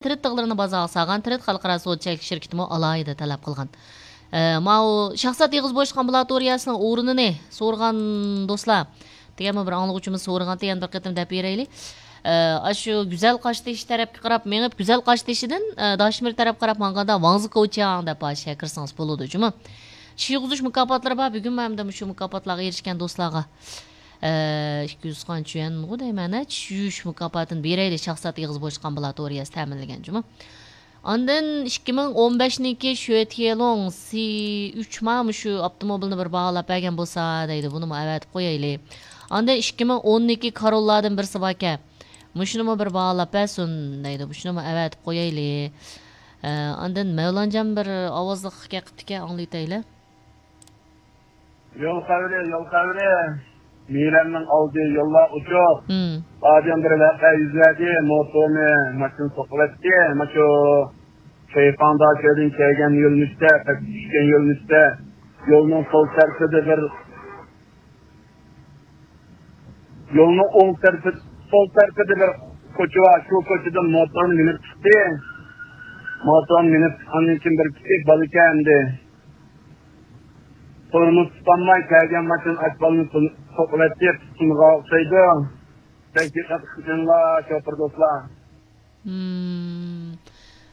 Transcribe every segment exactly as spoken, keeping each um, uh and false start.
تىرىت تىغلىرىنى بازارغا سالغان تىرىت خەلقئارا سودا چەكلىك شىركىتىمۇ ئالاھىدە تەلەپ قىلغان. ئە، ماۋۇ شاھزات ئېغىز بوشلۇق ئامبۇلاتورىيەسىنىڭ ئورنىنى سورىغان دوستلار، دېگەن بىر ئاڭلىغۇچىمىز سورىغانتى، يەنە بىر قېتىم دەپ بېرەيلى. ئە، ئاشۇ گۈزەل قاشتېشى تەرەپكە قاراپ مېڭىپ، گۈزەل قاشتېشىدىن، ئە، داشمىر تەرەپكە قاراپ ماڭغاندا ۋاڭزى كوچياڭ دەپ ئاشۇ يەرگە كىرسىڭىز بولىدۇ، جۇمۇ. چىش يۇغۇزۇش مۇكاپاتلىرى بار. بۈگۈنمۇ ھەمدە مۇشۇ مۇكاپاتلارغا ئېرىشكەن دوستلارغا، ئە، ئىككى يۈز خان چۈەنغۇ دەيمەن، ھە، چىش يۇيۇش مۇكاپاتىنى بېرەيلى، شاھزات ئېغىز بوشلۇق ئامبۇلاتورىيەسى تەمىنلىگەن، جۇمۇ. ئاندىن ئىككى مىڭ ئون بەشنىڭكى شۆتيېلۇڭ سى ئۈچ ما مۇشۇ ئاپتوموبىلنى بىر باھالاپ بەرگەن بولسا دەيدۇ، بۇنىمۇ ئەۋەتىپ قويايلى. ئاندىن ئىككى مىڭ ئوننىڭكى كاروللادىن بىرسى باركەن، مۇشۇنىمۇ بىر باھالاپ بەرسۇن دەيدۇ، مۇشۇنىمۇ ئەۋەتىپ قويايلى. ئە، ئاندىن مەۋلانجان بىر ئاۋازلىق گەپ قىپتىكەن، ئاڭلىۋېتەيلى. يول خەۋىرى، يول خەۋىرى. مىرەمنىڭ ئالدى يوللار ئوچۇق. مم. بادىن بىر ۋەقە يۈز بەردى، موتورنى ماشىنا سوقۇۋەتتى. ماشۇ شەيخاڭدا شۇيەردىن كەلگەن يۆنىلىشتە، پەسكە چۈشكەن يۆنىلىشتە يولنىڭ سول تەرىپىدە بىر، يولنىڭ ئوڭ تەرىپى، سول تەرىپىدە بىر كوچا بار. شۇ كوچىدىن موتورنى مىنىپ چىقتى. موتورنى مىنىپ چىققاندىن كېيىن بىر كىچىك بالا كەلدى. تورمۇز تۇتالماي كەلگەن ماشىنا ئاچ بالىنى تۇن-، سوقۇۋەتتى، تۇتۇنغان ئوخشايدۇ. بەك دىققەت قىلىڭلار، شوپۇر دوستلار. مم.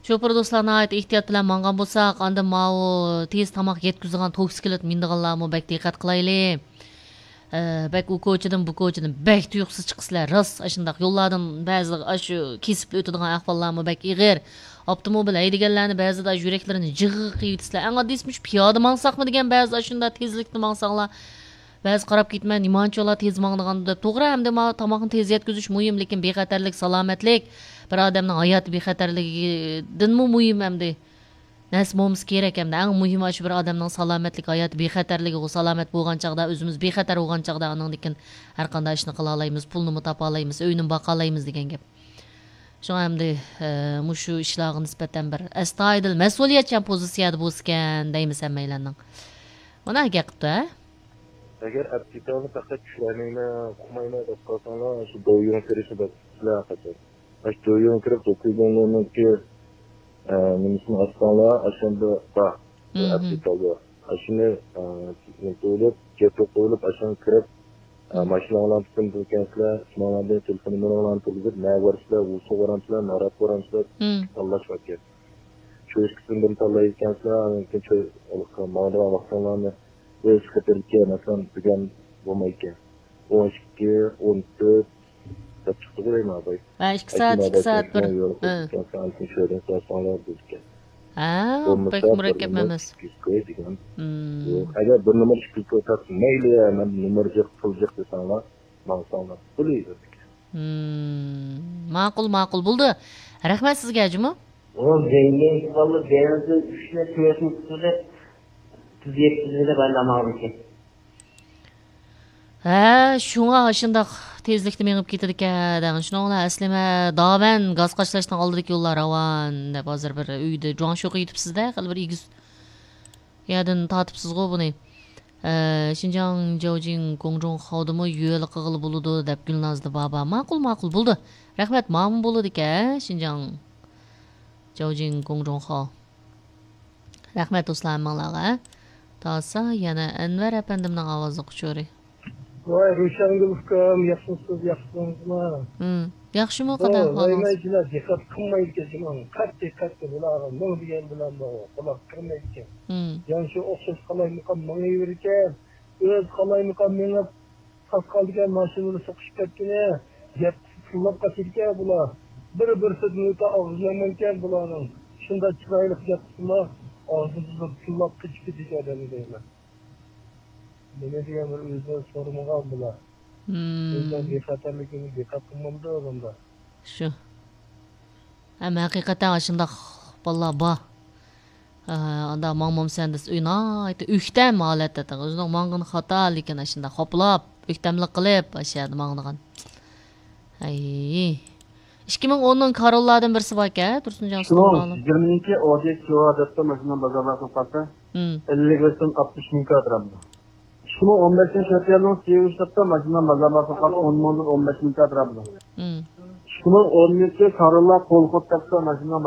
شوپۇر دوستلار، ناھايىتى ئېھتىيات بىلەن ماڭغان بولساق، ئاندىن ماۋۇ تېز تاماق يەتكۈزىدىغان توكسىكلىت مىنىدىغانلارمۇ بەك دىققەت قىلايلى. ئە، بەك ئۇ كوچىدىن، بۇ كوچىدىن بەك تۇيۇقسىز چىقىسىلەر. راست ئاشۇنداق يوللاردىن بەزىلىرى ئاشۇ كېسىپلا ئۆتىدىغان ئەھۋاللارمۇ بەك ئېغىر. ئاپتوموبىل ھەيدىگەنلەرنى بەزىدە ئاشۇ يۈرەكلىرىنى جىغغا قىيىۋېتىسىلەر. ئەڭ ئاددىيسى مۇشۇ پىيادە ماڭساقمۇ دېگەن، بەزىدە ئاشۇنداق تېزلىكتە ماڭساڭلار. بەزى قاراپ كېتىمەن، نېمانچىلا تېز ماڭىدىغاندۇ دەپ. توغرا، ئەمدى مانا تاماقنى تېز يەتكۈزۈش مۇھىم، لېكىن بىخەتەرلىك، سالامەتلىك، بىر ئادەمنىڭ ھاياتى بىخەتەرلىكىدىنمۇ مۇھىم ئەمدى. نەرسە بولمىسا كېرەك ئەمدى. ئەڭ مۇھىمى ئاشۇ بىر ئادەمنىڭ سالامەتلىك، ھاياتى بىخەتەرلىكى، ئۇ سالامەت بولغان چاغدا، ئۆزىمىز بىخەتەر بولغان چاغدا، ئاندىن كېيىن ھەر قانداق ئىشنى قىلالايمىز، پۇلنىمۇ تاپالايمىز، ئۆينىمۇ باقالايمىز دېگەن گەپ. شۇڭا ئەمدى، ئە، مۇشۇ ئىشلارغا نىسبەتەن بىر ئەستايىدىل مەسئۇلىيەتچان پوزىتسىيەدە بولسىكەن دەيمىز ھەممەيلەننىڭ. مانا گەپ قىپتۇ، ھە؟ ئەگەر ئەپتىكالنى پەقەت چۈشۈرەلمەيمەن، ئۇقمايمەن دەپ قالساڭلار، شۇ دويۇڭ كىرىشنى بەسلەر قاچان. ئاشۇ دويۇڭ كىرىپ، دوكۇيدۇڭنىڭكى، ئە، نېمىسىنى ئاچساڭلار، ئاشۇندىدا بار. مم. ئەپتىكالدا. ئاشۇنى، ئە، نېمە قويۇلۇپ، گەپ قويۇلۇپ، ئاشۇنى كىرىپ، ئە، مم. ماشىنىڭلارنى تۇتۇپ كەلسىلەر، شۇنىڭلاردىن تېلېفون نومۇرۇڭلارنى تۇرغۇزۇپ، نەگە بارىسىلەر، ۋۇسۇغا بارامسىلەر، ناراتقا بارامسىلەر، مم. تاللاش باركەن. شۇ ئىككىسىدىن بىرنى تاللايدىكەنسىلەر، ئاندىن كېيىن شۇ ماڭىدىغان ۋاقتىڭلارنى ئۆز خېتىرىدىكى، مەسىلەن، بۈگۈن بولمايدىكەن. ئون ئىككى، ئون تۆت دەپ چىقتىغۇ دەيمەن، ئاباي. ھە، ئىككى سائەت، ئىككى سائەت بىر. ھە. ھە، بەك مۇرەككەپ ئەمەس. مم. يوق، ئەگەر بىر نومۇر ئىككى يۈز كوي تاپسا، مەيلى، مەن نومۇر جىق، پۇل جىق دېسەڭلار، ماڭساڭلار بولىدۇ. مم. ماقۇل، ماقۇل. بولدى. رەھمەت سىزگە، جۇمۇ. ئۇ بەينى بالىلار بەزىدە ئۈچنى، تۆتنى قىلىپ، تېز يەتكۈزىدۇ دەپ ئايلانماغانىكەن. ھە، شۇڭا ئاشۇنداق تېزلىكتە مېڭىپ كېتىدىكەن دەڭ. شۇنىڭ بىلەن ئەسلىمە داۋەن گاز قاچىلاشنىڭ ئالدىدىكى يوللار راۋان دەپ، ھازىر بىر ئۆيدە جۇاڭشۇغا يېتىپسىز-دە، خېلى بىر ئېگىز يەردىن تارتىپسىزغۇ بۇنى. ئە، شىنجاڭ جاۋجىڭ گوڭجۇڭخاۋدىمۇ يۆلە قىلغىلى بولىدۇ دەپ گۈلنازدا بابا. ماقۇل، ماقۇل، بولىدۇ. رەھمەت، ماۋۇمۇ بولىدىكەن، شىنجاڭ جاۋجىڭ گوڭجۇڭخاۋ. رەھمەت دوستلار ھەممىڭلارغا. تاسا يەنە ئەنۋەر ئەپەندىمنىڭ ئاۋازلىق ئۇچۇرى. ۋاي، روشەنگۈل ئۇكام، ياخشىمۇسىز، ياخشىسىزما؟ ھىم، ياخشىمۇ، قانداق ئەھۋالىڭىز؟ ھايمايچىلار دىققەت قىلمايدىكەن، قەت دىققەت قىل، بۇلارغا مىڭ دېگەن بىلەن قۇلاق كىرمەيدىكەن. ھىم. يەنە شۇ ئوخشاش قالايمىقان مېڭىۋېرىكەن، ئۆزى قالايمىقان مېڭىپ، تاسقالدىكى ماشىنىلار سوقۇشۇپ كەتكىنى، گەپ قىلسا تىللاپ قاچىدىكەن بۇلار. بىر-بىرسىدىن ئۆتە ئاغزى يامانكەن بۇلارنىڭ. شۇنداق چىرايلىق گەپ قىلسىلا، ئاغزىدىن تىللاپ قېچىپ كېتىدىكەن ئادەمنى دەيمەن. نېمە دېگەن بىر ئۆزىنى سورىمىغان بۇلار. مم. ئۆزىنىڭ بىخەتەرلىكىنى دىققەت قىلمامدۇ ئۇلار؟ شۇ. ھەم ھەقىقەتەن ئاشۇنداق بالىلار بار. ئە، ئاندا ماڭمامسەن دېسە، ئۆي ناھايىتى ئۆكتەم ھالەتتە، ئۆزىنىڭ ماڭغىنى خاتا، لېكىن ئاشۇنداق خاپىلاپ، ئۆكتەملىك قىلىپ، ئاشۇ يەردە ماڭىدىغان. ئەي. ئىككى مىڭ ئوننىڭ كاروللاردىن بىرسى باركەن، تۇرسۇنجان ئۇستام. يىگىرمىنىڭكى ئودېكس يوغا دەپتۇ ماشىنا بازارلارغا سوققانسا. مم. ئەللىك بەشتىن ئاتمىش مىڭ كادىر ئالىدۇ. ئىككى مىڭ ئون بەشىنچى يىلنىڭ سىيۇ ئىشلەپتۇ ماشىنا بازارلارغا سوققان ئون مىڭدىن ئون بەش مىڭ كادىر ئالىدۇ. مم. ئىككى مىڭ ئون ئۈچ كاروللا قول خوت تەپسە ماشىنا